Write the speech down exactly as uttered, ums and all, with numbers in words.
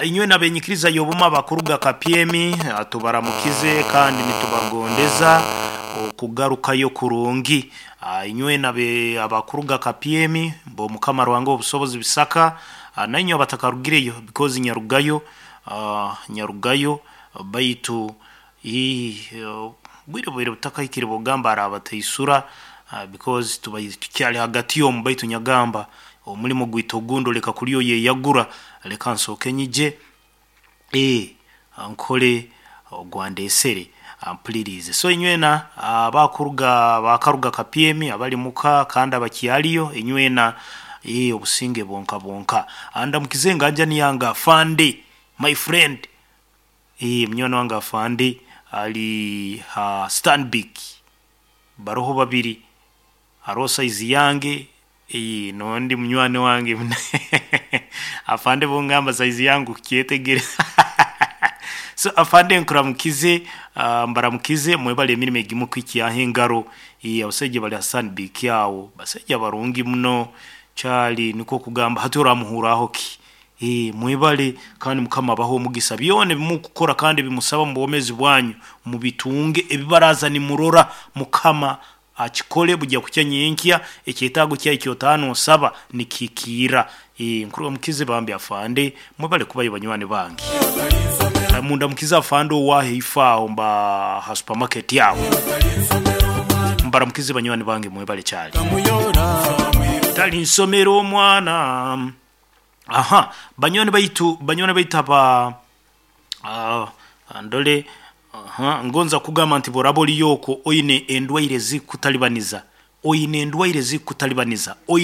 Inywe nabenyikiriza y'obuma bakuruga Kapyemi, ah, tubaramukize kandi nitubagondeza okugarukayo kurungi. Ah, inywe nabe abakuruga Kapyemi bo Mukama Ruhanga obusobozi bisaka, ah, nainywe abatakarugireyo because nyarugayo, ah, nyarugayo baitu ii, bwire bwire butakahikire bwogamba arabataisura, ah, because tubaire tukyali hagati omu, baitu nyagamba omulimo gwaitu ogundi oleka kuli oyeyagura, leka nsooke nyije, eh, nkole ogwandesere ampulirize. So inywena abakuruga abakaruga Kapyemi abali muka kandi abakyaliyo, inywena eh, obusinge bwonka bwonka. Ndamukize enganjani yange afande, my friend, eh, munywani wange afande ali ha Stanbic, baroho babiri, haroho size yange, eh, nondi munywani wange afande bungamba size yange okukyetegereza so afande nkuramukize, uh, mbaramukize, mwebale emirimo egimukwikyaho engaro. eh, abasaija bali ha Stanbic aho basaija barungi muno kyali, nikwo kugamba hati oramuhuraho ki? Eh, mwebale kandi Mukama abahe omugisa, byona ebimukukora kandi ebimusaba mubwomezi bwanyu mubitunge, ebibaraza nimurora Mukama akikole, bujya kukya nyenkya ekyetaago kyawe ekyotaha nosaba nikihikiira. Eh, nkuramukize bambi afande, mwebale kubayo banywani bange. Mundamukize afande owaho eifo aho mba ha supermarket aho, mbaramukize banywani bange, mwebale kyali tali nsomera omwana. Aha, banywani baitu, banywani baitu aba, uh, ndole, aha, ngonza kugamba nti bworaba oliyo okwo oine endwaire zikutalibaniza, oine endwaire zikutalibaniza, oine